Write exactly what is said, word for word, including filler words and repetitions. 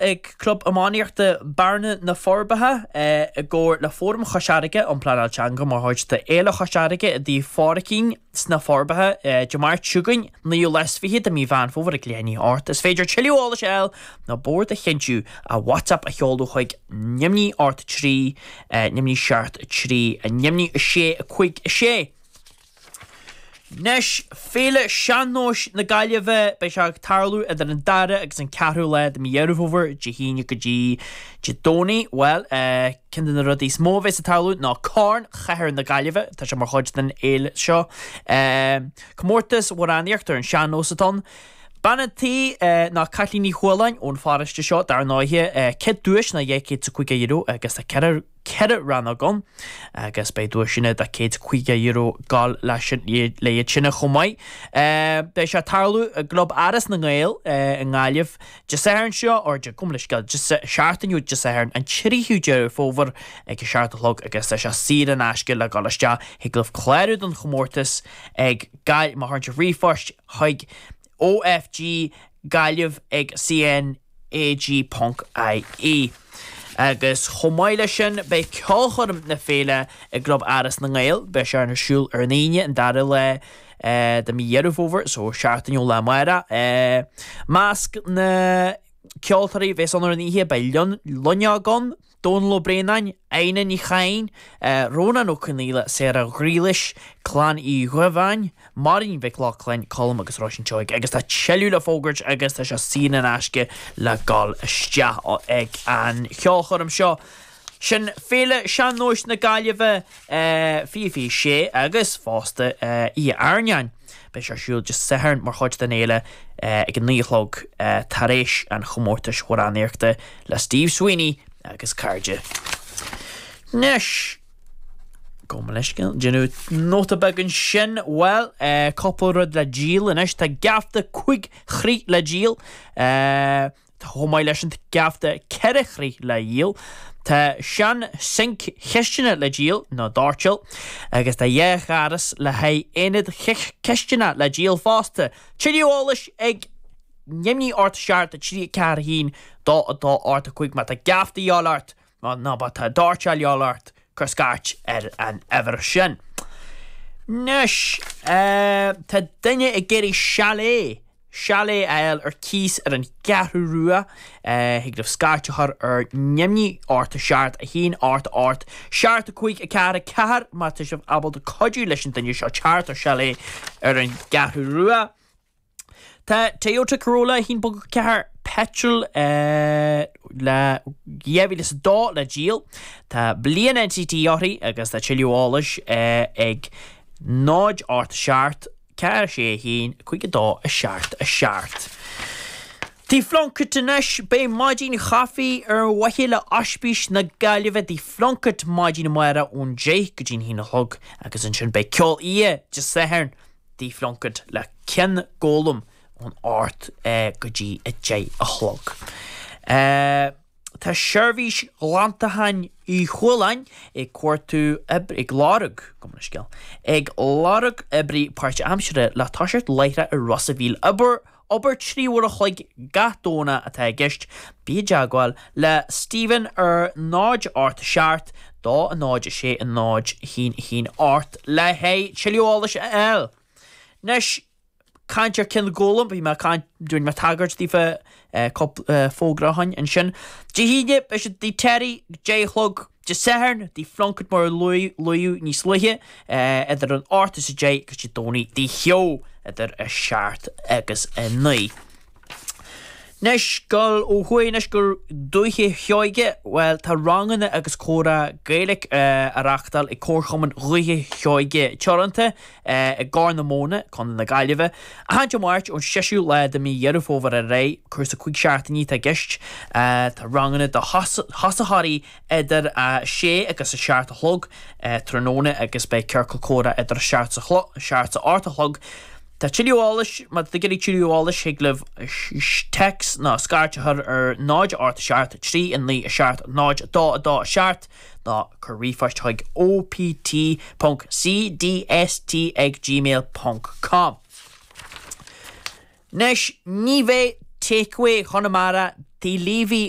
ag Club Iománaíochta Bearna na Forbacha i gcomhar le Fóram Chois Fharraige um Pleanáil Teanga mar chuid de Fhéile Chois Fharraige i dTigh Phádraicín sna Forbacha Dé Máirt seo chugainn naoú lá is fiche de mí Mheán Fómhair ag leath i ndiaidh a hocht. Is féidir tuilleadh eolais a fháil nó bord a chinntiú a WhatsApp a sheoladh chuig neamhní ocht trí neamhní seacht trí neamhní a sé a cúig a sé. Anois Féile Sean-nóis na Gaillimhe beidh sé ag tarlú idir an dara agus an ceathrú lá de mí Dheireadh Fómhair Dé hAoine go dtí Dé Domhnaigh. Bhuel ceann de na rudaí is mó a bheas ag tarlú ná Corn Chathair na Gaillimhe tá sé mar chuid den fhéile seo. Comórtas amhránaíocht ar an sean-nós atá ann. Bean an tí ná Caitlín Ní Chualáin ón pharóiste seo dar ndóighe céad duais ná dhá chéad is caoga euro agus tá ceithre ceithre rannóg ann agus beidh duaiseanna de céad caoga euro ag gabháil leis sin le iad sin chomh maith. Beidh sé ag tarlú i gClub Áras na nGael i nGaillimh Dé Sathairn seo or Dé gabh mo leithscéal seachtain ó Dé Sathairn an tríú Deireadh Fómhair ag a seacht a chlog agus tá sé saor in aisce le dhul isteach thig libh clárú don chomórtas ag Gail má chuireann sibh ríomhphost chuig OFG Gaillimh ag CNAG ponc IE. Agus chomh maith leis sin beidh ceolchoirm na féile i gClub Áras na nGael, beidh sé ar siúl ar an Aoine an dara lá de mí Dheireadh Fómhair, so seachtain ó lá amárach. Measc na ceoltóirí a bheas ann ar an oíche beidh Loinneog ann, Dónal Ó Braonáin, Adhna Ní Chadhain, Rónán Ó Conghaile, Sarah Ghriallais, Clann Uí Dhubháin, Máirín Mhic Lochlainn, Colm agus Róisín Seoighe agus tá tuilleadh le fógairt agus tá sé saor in aisce le dhul isteach ag an cheolchoirm seo. Sin Féile Sean-nóis na Gaillimhe fiche fiche sé agus fosta Oíche Airneáin. Beidh sé ar siúl Dé Sathairn mar chuid den fhéile ag a naoi a chlog tar éis an chomórtais amhránaíochta le Steve Sweeney agus cairde. Anois gabh mo leithscéal déanamh nóta beag ansin bhuel cúpla rud le díol anois tá geafta cúig chroí le díol chomh maith leis an geafta ceithre chroí le dhíol. Tá sean sinc chistine le díol nó doirteal agus tá dhá ghaireas le haghaidh aonad cistine le díol fosta. Tuilleadh eolais ag neamhní ocht seacht trí ceathair a haon dó a dó ocht a cúig má tá geafta de dhíobháil ort nó má tá doirteal de dhíobháil ort cuir scairt ar an uimhir sin. Anois tá duine ag iarraidh chalet chalet a fháil ar cíos ar an gCeathrú Rua thig libh scairt a chur ar neamhní ocht seacht a haon ocht ocht seacht a cúig a ceathair a ceathair má tá sibh ábalta cuidiú leis an duine seo teacht ar chalet ar an gCeathrú Rua. Tá Toyota Corolla a haon ponc ceathair petrol le dhá mhíle is a dó le díol. Tá bliain NCT uirthi agus tá tuilleadh eolais ag náid ocht seacht ceathair sé a haon cúig a dó a seacht a seacht. Tigh Phlunkett anois beidh maidin chaife ar mhaithe le Ospís na Gaillimhe Tigh Phlunkett maidin amárach ón deich go dtí an haon a chlog agus ansin beidh ceol oíche Dé Sathairn Tigh Phlunkett le Cionn Gólam ón ocht go dtí a deich a chlog. Tá seirbhís ghlantacháin Uí Chualáin ag cuartú ag lorg gabh mo leithscéal ag lorg oibrí páirtaimseartha le toiseacht láithreach i Ros a' Mhíl obair obair trí uair a chloig gach Domhnach atá i gceist bí i dteagmháil le Stephen ar náid ocht seacht dó a náid a sé a náid a haon a haon ocht le haghaidh tuilleadh eolais a fháil. Anois caint ar Cionn Gólam, bhí mé caint dúinn mé tagairt daofa cúpla fógra ó shin ansin. Dé hAoine beidh siad Tigh Terry deich a chlog Dé Sathairn Tigh Phlunkett mar a luadh níos luaithe idir an ocht is a deich agus Dé Domhnaigh Tigh Theo idir a seacht agus a naoi. Anois dul ó thuaidh anois go Dúiche Sheoige, bhuel tá ranganna agus comhrá Gaeilge á reáchtáil ag Comharchumann Dhúiche Sheoige Teoranta i gCorr na Móna, Contae na Gaillimhe. Achan Dé Máirt ón seisiú lá de mí Dheireadh Fómhair ar aghaidh, cúrsa cúig seachtainí atá i gceist. Tá ranganna do thosaitheoirí idir a sé agus a seacht a chlog tráthnóna agus beidh ciorcal comhrá idir a seacht a seacht a ocht a chlog. Tá tuilleadh eolais má tá tú ag iarraidh tuilleadh eolais thig libh téacs nó scairt a chur ar náid ocht seacht trí a naoi a seacht náid dó a dó a seacht nó cuir ríomhphost chuig opt ponc cdst ag gmail ponc com. Anois ní bheidh Takeaway Chonamara Tí Leavy